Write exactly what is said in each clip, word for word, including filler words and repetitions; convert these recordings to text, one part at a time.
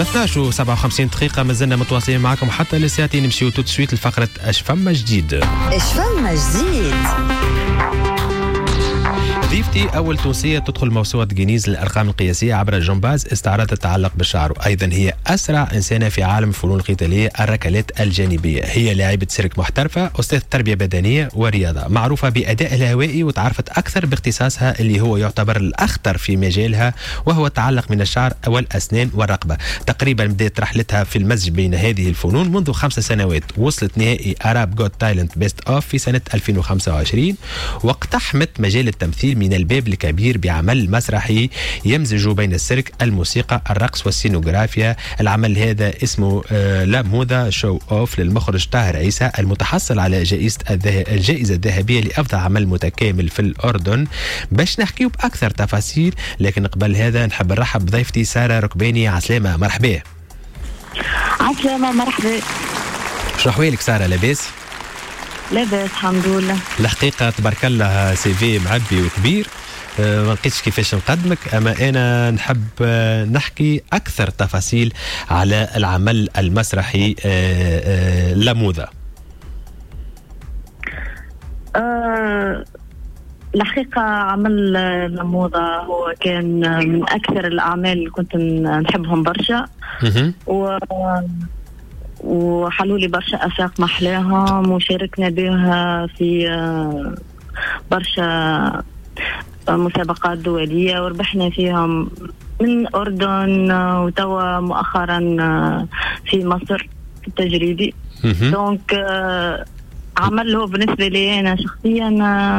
اثناش و سبعة وخمسين دقيقة، مازلنا متواصلين معكم حتى لساعتين. نمشيو tout de suite لفقرة اش فما جديد. اش فما جديد. ضيفتي أول تونسية تدخل موسوعة جينيز للأرقام القياسية عبر الجمباز، استعراض التعلق بالشعر، وأيضا هي أسرع إنسانة في عالم الفنون القتالية الركلات الجانبية. هي لاعبة سيرك محترفة، أستاذ تربية بدنية ورياضة، معروفة بأدائها الهوائي وتعرفت أكثر باختصاصها اللي هو يعتبر الأخطر في مجالها، وهو التعلق من الشعر والأسنان والرقبة. تقريبا بدأت رحلتها في المزج بين هذه الفنون منذ خمس سنوات، وصلت نهائي Arab Got Talent Best of في سنة ألفين وخمسة وعشرين، واقتحمت مجال التمثيل من الباب الكبير بعمل مسرحي يمزج بين السيرك، الموسيقى، الرقص والسينوغرافيا. العمل هذا اسمه لاموذا Show Off للمخرج طاهر عيسى، المتحصل على جائزة الجائزة الذهبية لأفضل عمل متكامل في الأردن. باش نحكيو بأكثر تفاصيل، لكن قبل هذا نحب نرحب بضيفتي سارة ركباني. عسلامة، مرحبا. عسلامة، مرحبا. شو أحوالك سارة، لاباس؟ لاباس الحمد لله. الحقيقة تبارك الله CV معبي وكبير، ما لقيتش كيفاش نقدمك، أما أنا نحب نحكي أكثر تفاصيل على العمل المسرحي لاموذا. أه الحقيقة عمل لاموذا هو كان من أكثر الأعمال اللي كنت نحبهم برشا، و وحلوا لي برشا آفاق محلاهم، وشاركنا بها في برشا مسابقات دولية وربحنا فيهم من الأردن، وتوا مؤخرا في مصر في التجريبي. donc عمل هو بالنسبة لي أنا شخصيا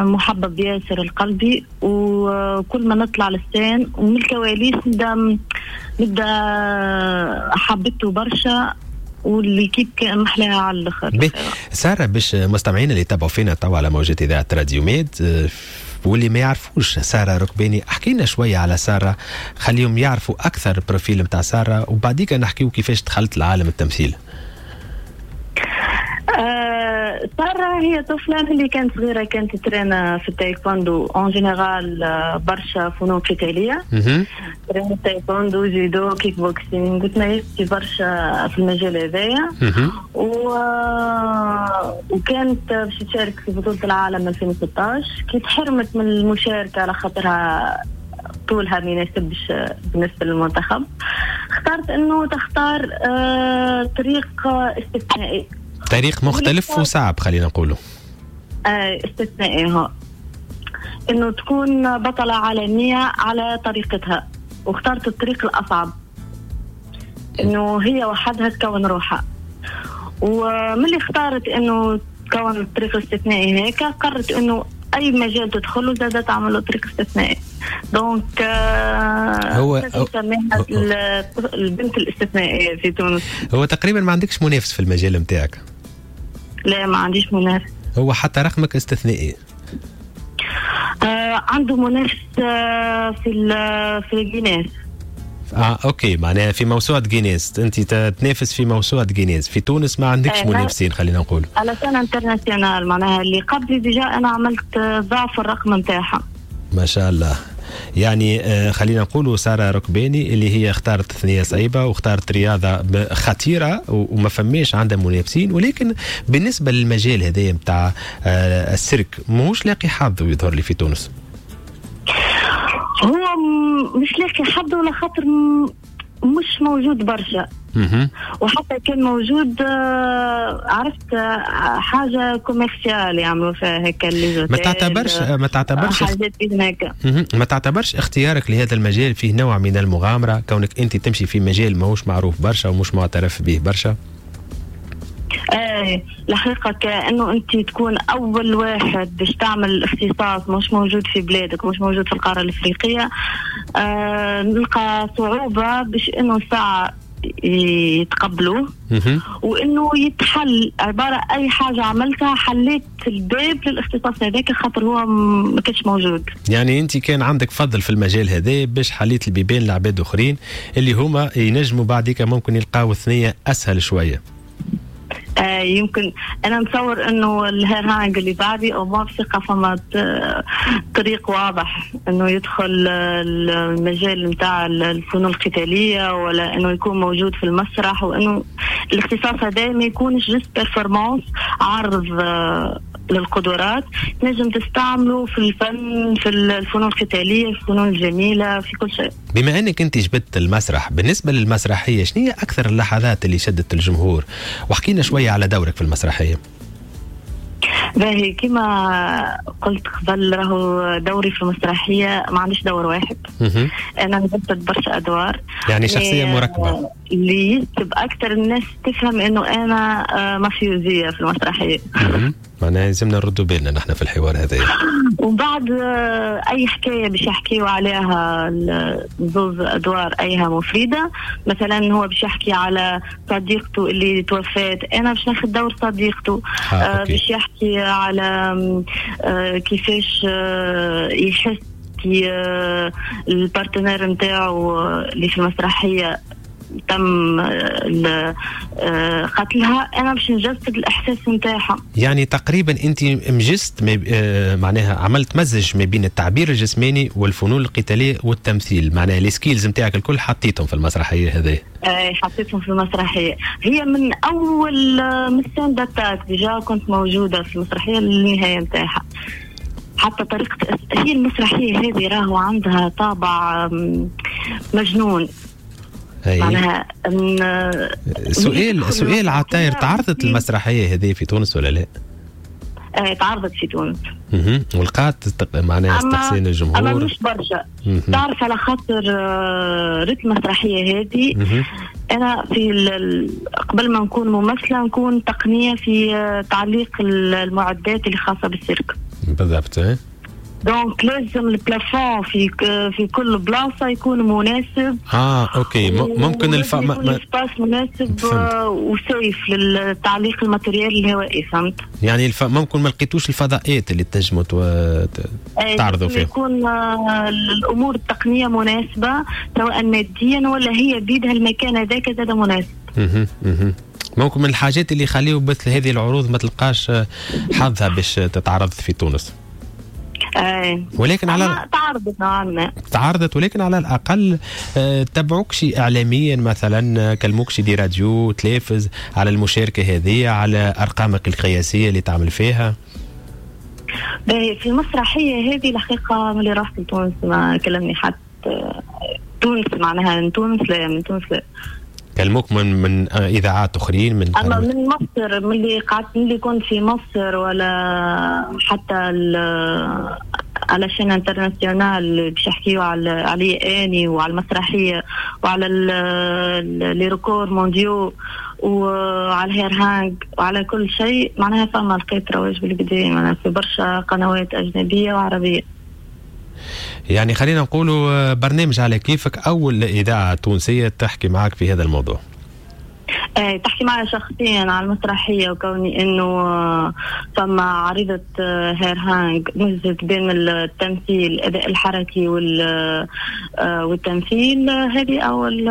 محبب ياسر القلبي، وكل ما نطلع لل scène ومن الكواليس نبدا نبدا حبيته برشا، و l'équipe محلاها على الاخر. ساره، باش مستمعينا اللي تابعوا فينا توا على موجات اذاعة راديو ميد واللي ما يعرفوش ساره ركباني، احكي لنا شوية على ساره، خليهم يعرفوا اكثر profil نتاع ساره، وبعديك نحكيو كيفاش دخلت لعالم التمثيل. آه، سارة هي طفلة اللي كانت صغيرة كانت ترينا في التايكوندو en général، برشا فنون قتالية، ترينا تايكوندو، جيدو، كيك بوكسينغ، وتميزت في برشا في المجال هذايا، و... وكانت باش تشارك في بطولة العالم ألفين وستطاش، كي تحرمت من المشاركة على خاطرها طولها ما يناسبش بالنسبة للمنتخب، اختارت انه تختار آه، طريق استثنائي، طريق مختلف وصعب خلينا نقوله. آه استثنائي هو انه تكون بطلة عالمية على طريقتها، واختارت الطريق الأصعب انه هي وحدها تكون روحها. ومن اللي اختارت انه تكون الطريق الاستثنائي هيك، قررت انه اي مجال تدخله زادة تعمل طريق استثنائي. donc آه هو البنت الاستثنائية في تونس. هو تقريبا ما عندكش منافس في المجال نتاعك؟ لا، ما عنديش منافس. هو حتى رقمك استثنائي. آه عنده منافس آه في في جينيس. اه okay، معناها في موسوعة جينيس انت تنافس في موسوعة جينيس. في تونس ما عندكش آه منافسين خلينا نقول. على scène internationale، معناها اللي قبلي déjà انا عملت ضعف الرقم نتاعها. ما شاء الله. يعني آه خلينا نقولوا سارة ركباني اللي هي اختارت ثنية صعيبة واختارت رياضة خطيرة وما فماش عندها منافسين، ولكن بالنسبة للمجال هذا نتاع آه السيرك ماهوش لاقي حظ ويظهر لي في تونس. هو مش لاقي حظ ولا خاطر مش موجود برشا، وحتى كان موجود عرفت حاجة commerciale يعملوا فيها هكا اللي ما تعتبرش ما تعتبرش حاجات هناك. ما تعتبرش اختيارك لهذا المجال فيه نوع من المغامرة، كونك انت تمشي في مجال ماهوش معروف برشا ومش معترف به برشا؟ ايه الحقيقة كأنه أنت تكون أول واحد باش تعمل اختصاص مش موجود في بلادك، مش موجود في القارة الإفريقية، آه نلقى صعوبة باش إنه الساعة يتقبلوه وإنه يتحل. عبارة أي حاجة عملتها حليت الباب للاختصاص هذاك خاطر هو ما كانش موجود. يعني أنت كان عندك فضل في المجال هذا باش حليت البيبان لعباد أخرين اللي هما ينجموا بعديك ممكن يلقاو ثنية أسهل شوية. آه يمكن انا نتصور انه ال hair hang اللي بعدي او ما بثقة فما طريق واضح انه يدخل المجال نتاع الفنون القتالية، ولا انه يكون موجود في المسرح، وانه الاختصاص هذا ما يكونش juste performance عرض للقدرات، تنجم تستعمله في الفن، في الفنون القتالية، في الفنون الجميلة، في كل شيء. بما انك انت جبت المسرح، بالنسبة للمسرحيه شنو هي اكثر اللحظات اللي شدت الجمهور؟ وحكينا شوية على دورك في المسرحية. باهي، كما قلت قبل راهو دوري في المسرحية ما عنديش دور واحد، انا نجسد برشا ادوار، يعني شخصية مركبة. اللي يجذب اكثر الناس تفهم انه انا مافيوزيه في المسرحية. معناها لازمنا نردوا بالنا نحن في الحوار هذا. وبعد اي حكاية باش يحكيوا عليها زوز ادوار ايهم وفريدة، مثلا هو باش يحكي على صديقته اللي توفات، انا باش ناخذ دور صديقته. آه، باش يحكي على آه كيفاش آه يحس كي آه ال partenaire نتاعو اللي في المسرحية تم قتلها، انا باش نجسد الاحساس نتاعها. يعني تقريبا انت مجست معناها عملت مزج ما بين التعبير الجسماني والفنون القتالية والتمثيل، معناها les skills نتاعك الكل حطيتهم في المسرحية هذه. اي حطيتهم في المسرحية، هي من اول من scène d'attaque déjà كنت موجودة في المسرحية للنهاية نتاعها. حتى طريقه هي المسرحية هذه راهو عندها طابع مجنون. معناها سؤال سؤال عطاير، تعرضت المسرحية هذه في تونس ولا لا؟ آه تعرضت في تونس. اها ولقات معناها استحسان الجمهور؟ اما مش برشا. تعرف على خاطر رتم المسرحية هذه انا في قبل ما نكون ممثلة نكون تقنية في تعليق المعدات اللي خاصة بالسيرك. بالضبط. donc لازم ال plafond في في كل بلاصة يكون مناسب. اه OK، ممكن الف... ما... espace مناسب و safe للتعليق ال matériel الهوائي، فهمت؟ يعني الف... ممكن ما لقيتوش الفضاءات اللي تنجموا تو... تعرضوا فيها. يكون الامور التقنية مناسبة سواء ماديا ولا هي بيدها المكان هذاك زاد مناسب. اها اها ممكن من الحاجات اللي يخليو مثل هذه العروض ما تلقاش حظها باش تتعرض في تونس. أي. ولكن على تعرضت نوعا ما، تعرضت، ولكن على الاقل تبعوكش اعلاميا مثلا، كلموكش des radios تلافز على المشاركة هذه، على ارقامك القياسية اللي تعمل فيها؟ باهي، في المسرحية هذه الحقيقة ملي رحت لتونس ما كلمني حد. تونس معناها من تونس لا، من تونس لا. كلموك من من اذاعات اخرين من اما من مصر، من اللي قعدت من اللي كنت في مصر ولا حتى على chaîne internationale باش يحكيو على علي اني وعلى المسرحية وعلى les records mondiaux وعلى ال hair hang وعلى كل شيء، معناها فما لقيت رواج بالقدا معناها في برشا قنوات اجنبية وعربية. يعني خلينا نقولوا برنامج على كيفك اول اذاعة تونسية تحكي معك في هذا الموضوع. ايه تحكي معي شخصيا على المسرحية، وكوني انه فما عريضة hair hang مزجت بين التمثيل الاداء الحركي والتمثيل، هذه اول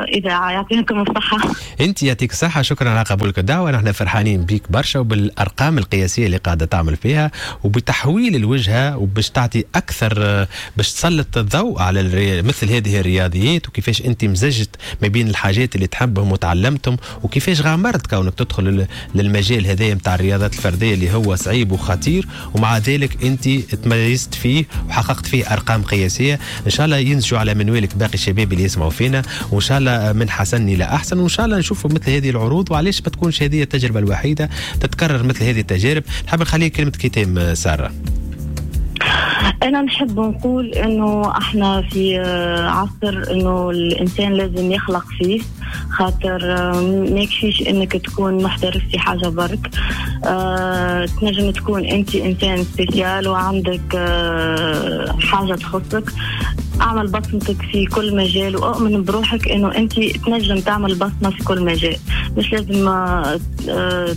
اذاعة. يعطيكم الصحة. انت يعطيك الصحة، شكرا على قبولك الدعوة. نحن فرحانين بيك برشا وبالارقام القياسية اللي قاعدة تعمل فيها وبتحويل الوجهة، وباش تعطي اكثر، باش تسلط الضوء على مثل هذه الرياضيات، وكيفاش انت مزجت ما بين الحاجات اللي تحبهم وتعلمتهم، وكيفاش غامرت كونك تدخل للمجال هذا نتاع الرياضات الفردية اللي هو صعيب وخطير، ومع ذلك انت تميزت فيه وحققت فيه ارقام قياسية. ان شاء الله ينسجوا على منوالك باقي الشباب اللي يسمعوا فينا، وان شاء الله من حسن الى احسن، وان شاء الله نشوفوا مثل هذه العروض. وعلاش ما تكونش هذه التجربة الوحيدة، تتكرر مثل هذه التجارب. نحب نخليك كلمة ختام ساره. أنا نحب نقول إنه إحنا في عصر إنه الإنسان لازم يخلق فيه، خاطر ما يكفيش إنك تكون محترف في حاجة برك، أه تنجم تكون أنت إنسان spécial وعندك أه حاجة تخصك. أعمل بصمتك في كل مجال، وأؤمن بروحك إنه أنت تنجم تعمل بصمة في كل مجال. مش لازم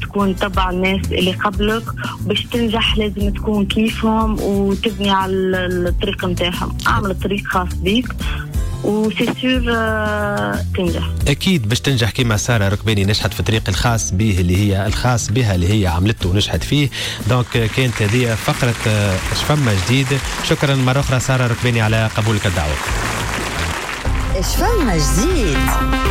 تكون تبع الناس اللي قبلك باش تنجح، لازم تكون كيفهم وتبني على الطريق متاعهم. أعمل طريق خاص بيك و c'est sûr تنجح. اكيد باش تنجح كما ساره ركباني نجحت في الطريق الخاص به اللي هي الخاص بها اللي هي عملته ونجحت فيه. donc كانت هذه فقره اش فما جديد. شكرا مرة اخرى ساره ركباني على قبولك الدعوه. اش فما جديد.